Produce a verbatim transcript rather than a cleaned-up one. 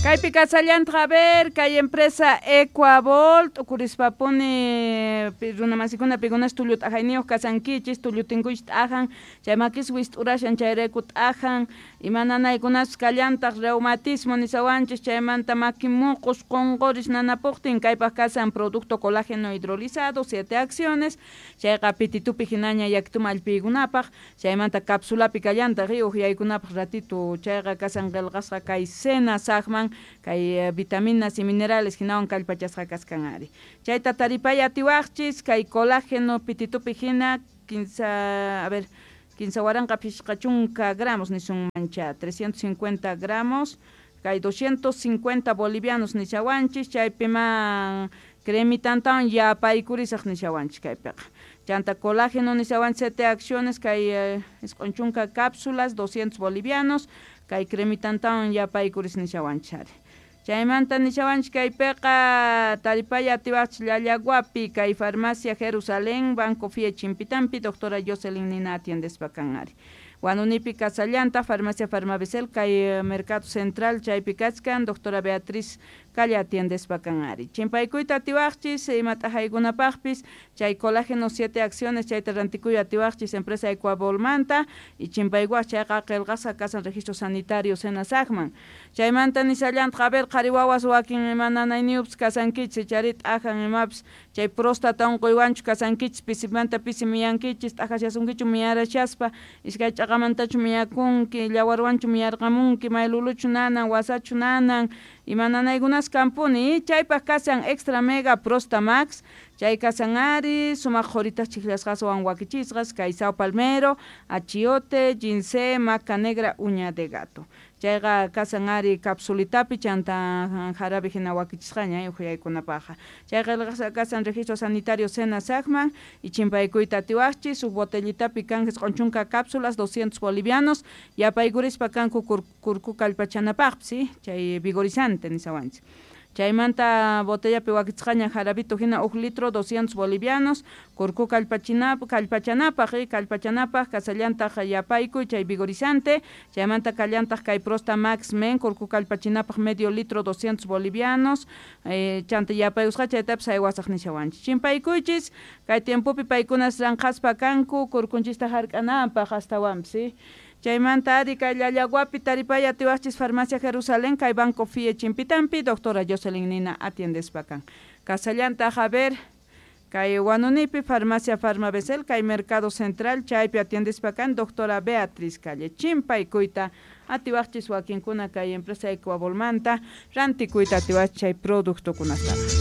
Kaypi kasallantaq, a ver, kay empresa Ecuavolt, t'ukurispapuni runamasikuna pikunas tullu t'ajayniyuq kasankichis, tullu tinkuychis t'ajan, chay makis wist'urashan chayrayku t'ajan, ima nanaykunas kallantaq reumatismo nisawanchis, chaymanta maki muqus qunquris nanapuqtin, kaypaq kasan producto colágeno hidrolizado, siete acciones, chayqa pititupi hinaña yakituma allpiykunapaq, chaymanta capsulapi kallantaq uqyaykunapaq ratito, chayqa kasan qillqasqa kay cena saqman, kay vitaminas y minerales hinawan kallpachasqa kaskan ari. Chayta taripay atiwaqchis kay colágeno pititupi hina quince, a ver, quince waranqa pishqa chunka gramos nisunmancha, trescientos cincuenta gramos, kay doscientos cincuenta bolivianos nishawanchis, chaypiman cremitantawan yapaykurisaq nishawanchis kaypiqa. Chanta colágeno nishawanchis siete acciones, kay isq'un chunka cápsulas, doscientos bolivianos, kay cremitantawan yapaykuris nishawanchis ari. Chaymanta nishawanchis kaypiqa taripay atiwaqchis Llallaguapi, kay farmacia Jerusalén, Banco F I E Chimpitampi, doctora Jocelyn Nina atiendespa kan ari. Huanunipi kasallanta, farmacia Farmabesel, kay Mercado Central, chaypi kachkan, doctora Beatriz Calle atiendespa kan ari. Chimpaykuyta atiwaqchis, ima t'ajaykunapaqpis, chay colágeno siete acciones, chayta rantikuy atiwaqchis empresa Ecuavolmanta, y chimpaykuaq chayqa qillqasqa kasan registro sanitario Senasagman. Chaymanta nisallantaq, a ver, qhari wawas wakin ima nanayniyuqpis kasankichis, chayri t'ajan imapis, chay próstata unquywanchu kasankichis, pisimanta pisi miyankichis, t'ajashasunkichu miyarashaspa, iskay ch'aqamantachu miyakunki, llawarwanchu miyarqamunki, mayluluchu nanan, wasachu nanan, ima nanaykunas kampuni, chaypaq kasan extra mega Prostamax, chay kasan ari, sumaq qhuritas chiklasqaswan wakichisqas, kay sao palmero, achiote, ginseng, maca negra, uña de gato. Chayqa kasan ari capsulitapi chanta jarabe hina wakichisqaña uqyaykunapaqqa. Chayqa kasan registro sanitario Senasagman y chimpaykuyta atiwaqchis, huk botellitapi kan isq'un chunka cápsulas, doscientos bolivianos, yapaykurispa kanku kurku kallpachanapaqpis, ¿sí? Chay vigorizante nisawanchis. Chaymanta botellapi wakichisqaña jarabito hina huk litro doscientos bolivianos, kurku kallpachinap, kallpachanapaq, eh, kallpachanapaq, kasallantaq yapaykuy chay vigorizante, chaymanta kallantaq kay Prosta Max Men, kurku kallpachinapaq medio litro doscientos bolivianos, eh, chanta yapayusqa chaytapis haywasaq nishawanchis. Chimpaykuychis, kay tiempopi paykunas ranqaspa kanku, kurkunchista hark'ananpaq astawanpis, ¿sí? Chaymanta ari kay Llallaguapi taripay atiwaqchis farmacia Jerusalén, kay Banco F I E Chimpitampi, doctora Jocelyn Nina atiendespa kan. Kasallantaq, a ver, kay Huanunipi farmacia Farmabesel, kay Mercado Central, chaypi atiendespa kan, doctora Beatriz Calle. Chimpaykuyta atiwaqchis wakinkuna kay empresa Ecuavolmanta, rantikuyta atiwaqchis chay productokunataqa.